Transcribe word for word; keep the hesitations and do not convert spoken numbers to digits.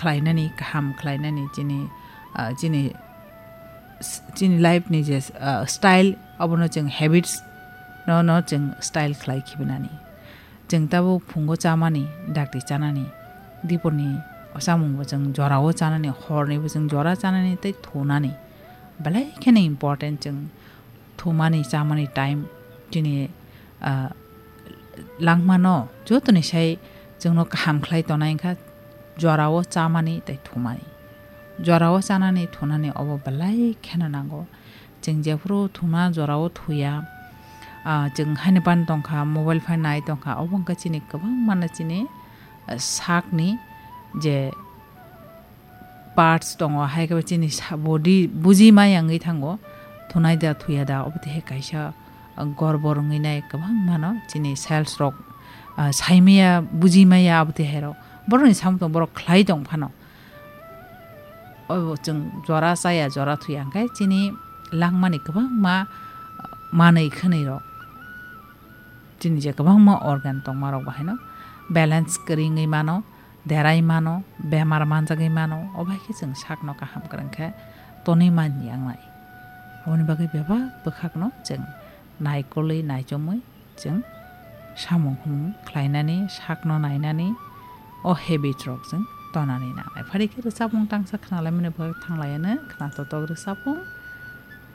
khlainani, kaham khlainani chini, ah, chini, chini life ni je, ah, style, obono chwng habits no, no chwng style khlai khibinani. Chwng tabuk phungo chamani, dakti chanani, diporni o chamungbo chwng jorao chanani, hornibo chwng jora chanani tei thunani belai kheno important. Chwng thumani chamani time chini, ah, langmano jotoni sai chwngno kaham khlai tonai wngkha jorao chamani tei thumani. Jorao chanani thunani obo belai kheno nango. Chwng jephuru thuna jorao thuya, ah, chwng haino ban tongkha, mobile phai nai tongkha, obo wngkha chini kwbangmano chini, ah, sakni je parts tongo, hai khe chini sa-, body buji maya wngwi thango, thunai da thuya da, obo twi hai kaisa, ah, gorbor wngwi nai kwbangmano chini cells rok, ah, saimaya, buji maya, abo twi hai rok borokni samung tong, borok khlai tong phano. Obo chwng jora chaya, jora thuya hwnkhe chini langmani kwbangma manwi khwnwi rok, chini je kwbangma organ tongma rok bahaino balance kwrwi wngwi mano, derai mano, bemar manjagwi mano, obo hai khe chwng sakno kaham kwrwng khe tonwi man yang nai. Aboni bagwi bebak bwkhakno chwng naikolwi naichomwi chwng samung humung khlainani, sakno nainani, o habit rok chwng tonani nangnai. Phari khe rwchapmung tangsa khnalaimani bagwi thanglaiano, khna totok rwchapmung